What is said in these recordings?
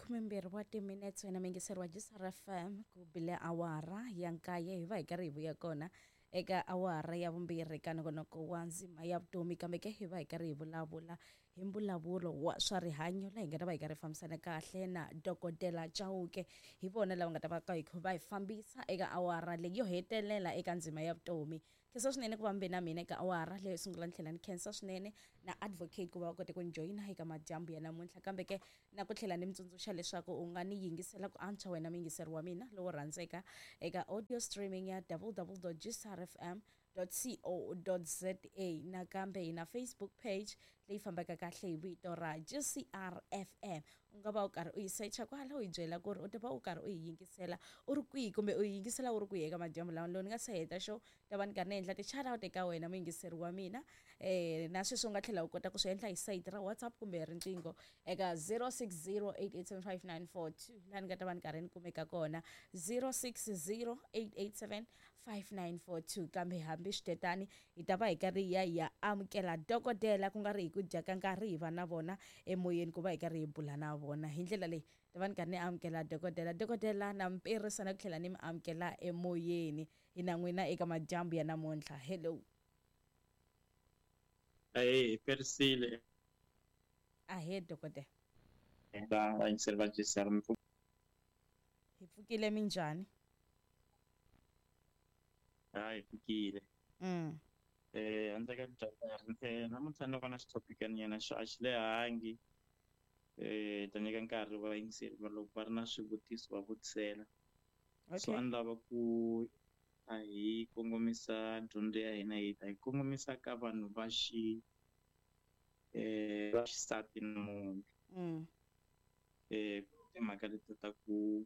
12 wa timinetse, wena muyingiseri wa GCR FM, ku bile awara ya 9, hi va hi karhi hi vuya kona eka awara ya 2 ka nongonoko wa ndzima ya vutomi. Kambe ke hi va hi karhi hi vulavula hi mbulavulo wa swa rihanyo, laha hi nga ta va hi karhi hi fambisana kahle na Dokodela Chauke. Hi vona lava nga ta va ka va hi fambisa eka awara leyi yo hetelela eka ndzima ya vutomi. Khensa swinene ku va mbe na mina eka awara leyo sungula, ni tlhela ni khensa swinene na advocate ku va va kote ku ni joyina eka madyambu ya namuntlha. Kambe ke na ku tlhela ni mi tsundzuxa leswaku u nga ni yingisela ku antswa, wena muyingiseri wa mina lowo rhandzeka, eka audio streaming ya www.gcrfm.co.za. Nakambe hi na Facebook page leyi fambaka kahle hi vito ra GCR FM. U nga va u karhi u yi secha kwala, u yi byela ku ri u ta va u karhi u yi yingisela u ri kwihi, kumbe u yi yingisela u ri kwihi eka madyambu lawa. Loko ni nga se heta xo ta va ni karhi ni endla ti-shout out eka wena muyingiseri wa mina. Na sweswi u nga tlhela u kota ku swi endla hi sayiti ra WhatsApp kumbe riqingho eka 0608875942, laha ni nga ta va ni karhi ni kumeka kona, 0608875942. Kambe hambi switetani, hi ta va hi karhi hi ya hi ya amukela dokodela, ku nga ri hi ku dya ka nkarhi, hi va na vona emoyeni ku va hi karhi hi bula na vona. Hi ndlela leyi ta va ni karhi ni amukela dokodela. Dokodela, na mi na ku tlhela ni mi amukela emoyeni hi na n'wina eka madyambu ya namuntlha. Hello. Ahee, hi perisile. Ahee, dokodela. Va vayingiseri va GCR. Hi pfukile, minjhani? Ha, hi pfukile. Handle ka dya, namuntlha ni vona xithopikanyana xo a xi lehangi. Ta nyika nkarhi vayingiseri va loko va ri na swivutiso va vutisela. So a ni lava ku a hi kongomisa dyondzo ya hina, hi ta hi kongomisa ka vanhu va xi va xisati namuntlha. Timhaka leti ta ku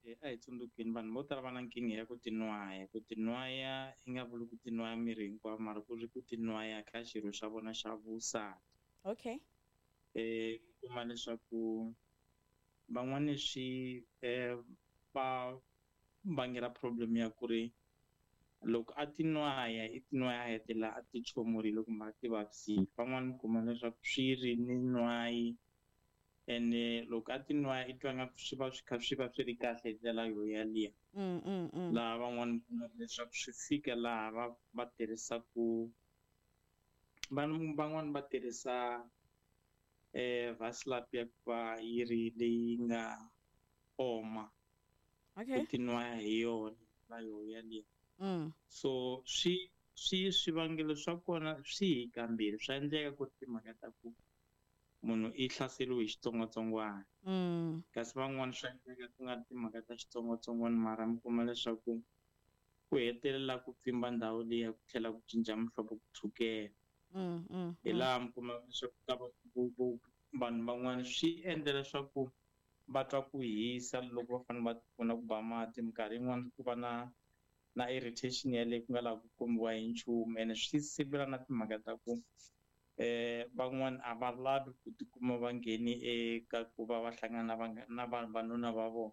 a hi tsundzukeni, vanhu vo tala va na nkingha ya ku tinwaya. Ku tinwaya i nga vuli ku tinwaya miri hinkwawo, mara ku ri ku tinwaya ka xirho xa vona xa vusati. Kuma leswaku van'wani swi va vangela problem ya ku ri loko a tinwaya, i tinwaya a hetelela a ti chomurile kumbe a ti vavisile. Van'wani kuma leswaku swi ri ni nwayi, ene loko a tinwaya i twa nga swi va swi kha swi va swi ri kahle hi ndlela yo yaliya. Laha van'wani kuma leswaku swi fika laha va va tirhisaku, vanhu van'wani va tirhisa vaslap ya ku va yi ri leyi nga oma, ku tinwaya hi yona la yo yaliya. So swi swi swivangelo swa kona swi hi kambirhi. Swa endleka ku ri timhaka ta ku munhu i hlaseriwe hi xitsongwatsongwana, kasi van'wani swa endleka ku nga ri timhaka ta xitsongwatsongwana, mara mi kuma leswaku ku hetelela ku pfimba ndhawu liya, ku tlhela ku cinca muhlovo, ku tshukela. Hi laha mi kuma leswaku ka vanhu van'wani swi endla leswaku va twa ku hisa loko va fanele va pfuna ku ba mati. Minkarhi yin'wani ku va na irritation yaleyo ku nga lavi ku kombiwa hi nchumu, ene swi sivela na timhaka ta ku van'wani a va lavi ku tikuma va ngheni eka ku va va hlangana na na vanhu vanuna va vona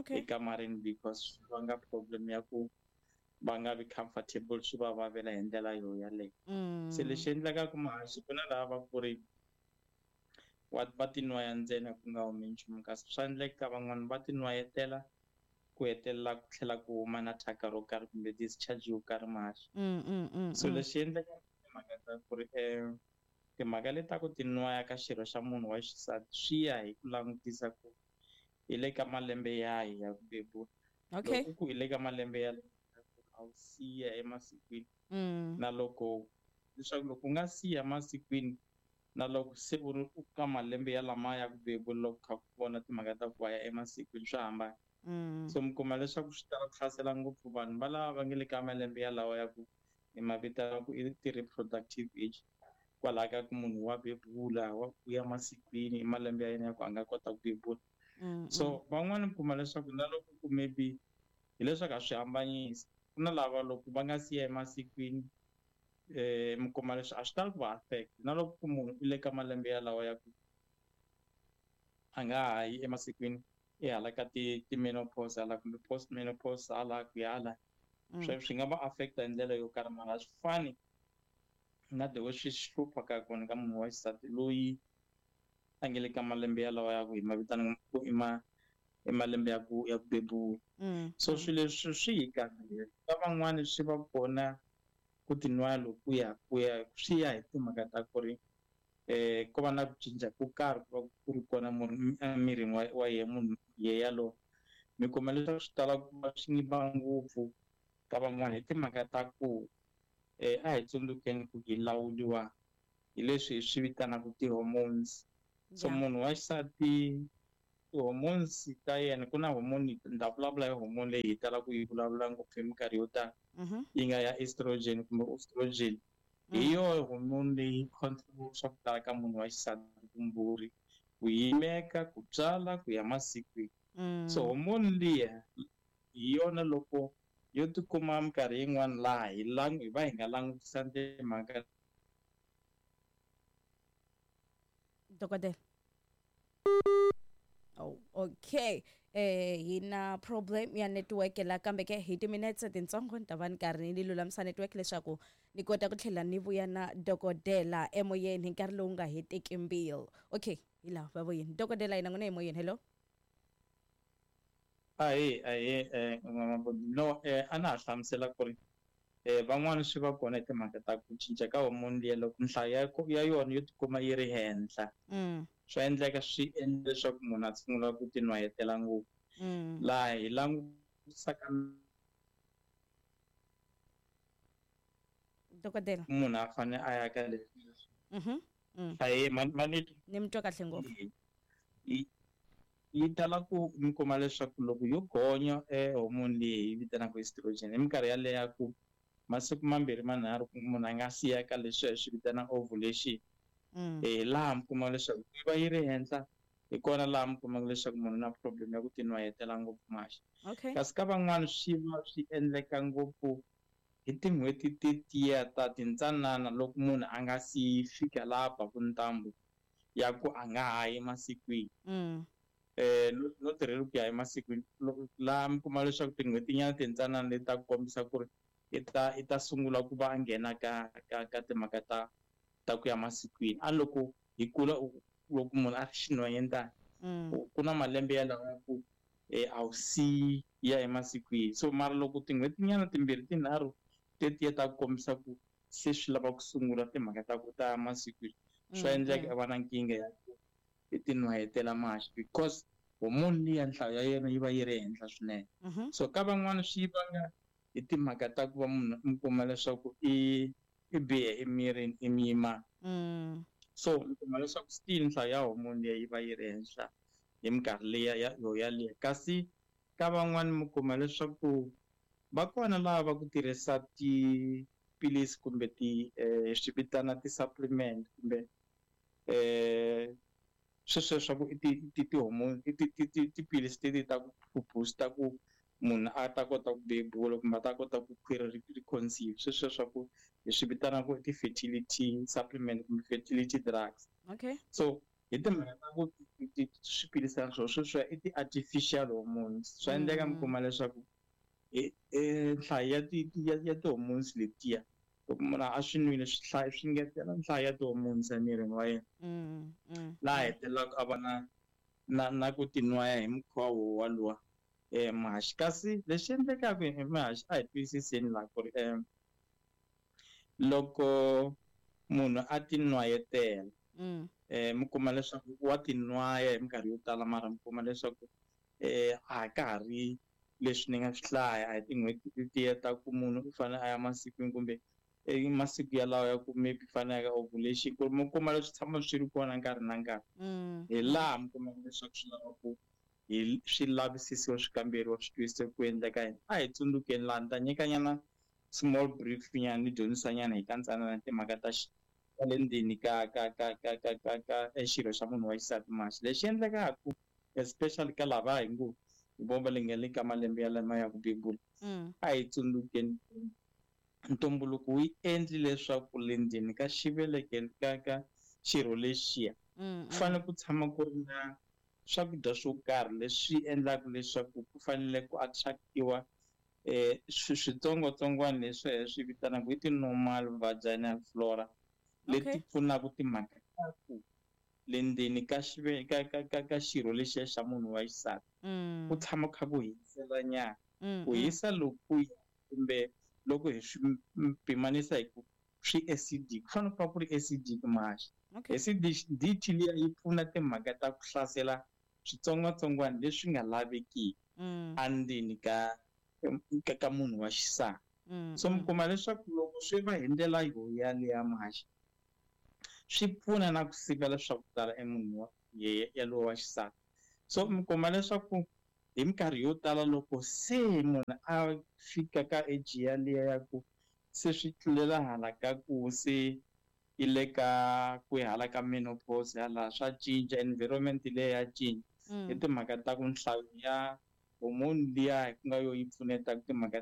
ekamareni, because swi vanga problem ya ku va nga vi comfortable, swi va vavela hi ndlela yo yaleyo. Se lexi endlekaka, mahaxi, ku na lava va ku ri wa va tinwaya ntsena ku nga humi nchumu, kasi swa endleka ka van'wani va tinwayetela, ku hetelela ku tlhela ku huma na thyaka ro karhi kumbe discharge yo karhi, mahaxi. So lexi endleka, timhaka ta ku ri timhaka leti ta ku tinwaya ka xirho xa munhu wa xisati swi ya hi ku langutisa ku hi le ka malembe yahi ya ku bebula. Loko ku hi le ka malembe ya a wu siya emasikwini, na loko leswaku loko u nga siya masikwini, na loko se u ri ka malembe ya lama ya ku bebula, loko kha ku vona timhaka ta ku va ya emasikwini, swa hambana. So mi kuma leswaku swi tala ku hlasela ngopfu vanhu va lava va nga le ka malembe yalawa ya ku hi ma vitana ku i ti-reproductive age, kwalaho ka ku munhu wa bebula, wa ku ya masikwini, i malembe ya yena ya ku a nga kota ku bebula. So van'wani mi kuma leswaku na loko ku maybe hileswaku a swi hambanyisi, ku na lava loko va nga siya emasikwini, mi kuma leswi a swi tali ku va affect. Na loko ku munhu i le ka malembe yalawa ya ku a nga ha yi emasikwini, i hala ka ti ti-menopause hala kumbe post menopause hala ku ya hala, swi nga va affect hi ndlela yo karhi, mara a swi fani na the way swi hlupha ka kona ka munhu wa xisati loyi. a nge le ka malembe yalawa ya ku hi ma vitana ku i ma i malembe ya ku bebula. So swilo leswi swi hi kahle. Ka van'wani swi va kona ku tinwaya lokuya ku ya swi ya hi timhaka ta ku ri ko va na ku cinca ko karhi ku va ku ri kona emirini wa ye munhu ye yalowo. Mi kuma leswaku swi tala ku va swi va ngopfu ka van'wana hi timhaka ta ku a hi tsundzukeni ku hi lawuriwa hi leswi hi swi vitanaka ti-hormones. So munhu wa xisati, ti-hormones ta yena, ku na hormone, ni ta vulavula hi hormone leyi hi talaka ku yi vulavula ngopfu hi minkarhi yo tala, yi nga ya estrogen kumbe estrogen. Hi yona hormone leyi control swa ku tala ka munhu wa xisati, vumbhuri, ku yimeka, ku tswala, ku ya masikwini. So hormone liya hi yona loko yo tikuma minkarhi yin'wana laha hi hi va hi nga langutisa timhaka. Dokodela, oh, okay, hi na problem ya network la, kambe ke hi timinetse tintsongo ni ta va ni karhi ni lulamisa network leswaku ni kota ku tlhela ni vuya na dokodela emoyeni hi nkarhi lowu nga heteki mbilu. Okay, hi laha va vuyeni dokodela hina n'wina emoyeni. Hello. Ahee, no, a na ha hlamusela ku ri van'wani swi va kona hi timhaka ta ku cinca ka hormone liya. Loko nhlayo ya yona yo tikuma yi ri henhla, swa endleka swi endla leswaku munhu a sungula ku tinwayetela ngopfu. Laha hi langutisaka Dokodela. munhu a fane a ya ka leswi. Ahee, mani. Ni mi twa kahle ngopfu. Yi tala ku mi kuma leswaku loko yo gonya hormone leyi hi vitanaka estrogen hi minkarhi yaleyo ya ku masiku mambirhi manharhu munhu a nga siya ka leswi hi swi vitanaka ovulation, laha mi kuma leswaku yi va yi ri henhla, hi kona laha mi kumaka leswaku munhu na problem ya ku tinwayetela ngopfu maxi. Kasi ka van'wani swi va swi endleka ngopfu hi tin'hweti tetiya ta tintsanana, loko munhu a nga si fika laha baku ntambu ya ku a nga ha yi masikwini. No tirheli ku ya emasikwini, laha mi kuma leswaku tin'hweti nyana tintsanana leti ta ku kombisa ku ri i ta sungula ku va a nghena ka timhaka ta ku ya masikwini. A loko hi kula, loko munhu a ri xinhwanyetana, ku na malembe ya lawa ku a wu si ya emasikwini. So mara loko tin'hweti nyana timbirhi tinharhu tetiya ta ku kombisa ku se swi lava ku sungula timhaka ta ku ta masikwini, swa endleka i va na nkingha ya ku i tinwayetela maxi, because hormone liya nhlayo ya yena yi va yi ri henhla swinene. So ka van'wani swi vanga hi timhaka ta ku va munhu mi kuma leswaku i bihe emirini, i muyimana. So mi kuma leswaku still nhlayo ya hormone liya yi va yi ri henhla hi minkarhi liya ya yo yaliya. Kasi ka van'wani mi kuma leswaku va kona lava va ku tirhisa tiphilisi kumbe ti swi vitana ti-supplement kumbe sweswo swa ku i ti-hormone, i tiphilisi teti ta ku booster ku munhu a ta kota ku bebula kumbe a ta kota ku khwiri ri conceive, sweswo swa ku hi swi vitanaka ku ti-fertility supplement kumbe fertility drugs. So hi timhaka ta ku swiphilisana swona sweswiya i ti-artificial hormones, swa endleka mi kuma leswaku nhlayo ya ti-hormones letiya, loko munhu a swi nwile, swi hlaya swi ngetela nhlayo ya ti-hormones emirini wa yena, laha hetelelaka a va na ku tinwaya hi mukhuva wo waluwa mahaxi. Kasi lexi endlekaka hi mahaxi, a hi twisiseni laha ku ri loko munhu a tinwayetela, mi kuma leswaku wa tinwaya hi minkarhi yo tala, mara mi kuma leswaku a ka ha ri leswi ni nga swi hlaya, a hi tin'hweti letiya ta ku munhu u fanele a ya masikwini kumbe masiku yalawo ya ku maybe fanele ya ka ovulation, ku ri mi kuma leswi tshama swi ri kona nkarhi na nkarhi. Hi laha mi kumaka leswaku swi lava ku hi swi lavisisiwa, swi kamberiwa, swi twisisa ku endleka yini. A hi tsundzukeni laha ni ta nyikanyana small brief nyana, ni dyondzisa nyana hi kantsanana timhaka ta le ndzeni ka xirho xa munhu wa xisati maxi. Lexi endlekaka, especially ka lava hi ngo hi vo va le nga le ka malembe ya lama ya ku bebula, a hi tsundzukeni ntumbuluko wu endli leswaku le ndzeni ka xivelekelo ka xirho lexiya ku fanele ku tshama ku ri na swakudya swo karhi leswi endlaka leswaku ku fanele ku attractiwa switsongwatsongwana leswi hi swi vitanaka hi ti-normal vaginal flora, leti pfunaka timhaka ta ku Le ndzeni ka ka ka ka ka xirho lexiya xa munhu wa xisati ku tshama kha ku hisela nyana. Ku hisa lokuya, kumbe loko hi swi pimanisa hi ku swi acidic, ku fanele ku va ku ri acidic Muhaxi. Acidity liya yi pfuna timhaka ta ku hlasela switsongwatsongwana leswi nga lavekiki endzeni ka munhu wa xisati. So mi kuma leswaku loko swi va hi ndlela yo yaliya, Muhaxi, swi pfuna na ku sivela swa ku tala emunhu wa yalowo wa xisati. So mi kuma leswaku hi minkarhi yo tala, loko se munhu a fika ka age yaliya ya ku se swi tlulela hala ka ku se i le ka ku hala ka menopause, hala swa cinca, environment leyi ya cinca hi timhaka ta ku nhlayo ya hormone liya ku nga yo yi pfuneta timhaka.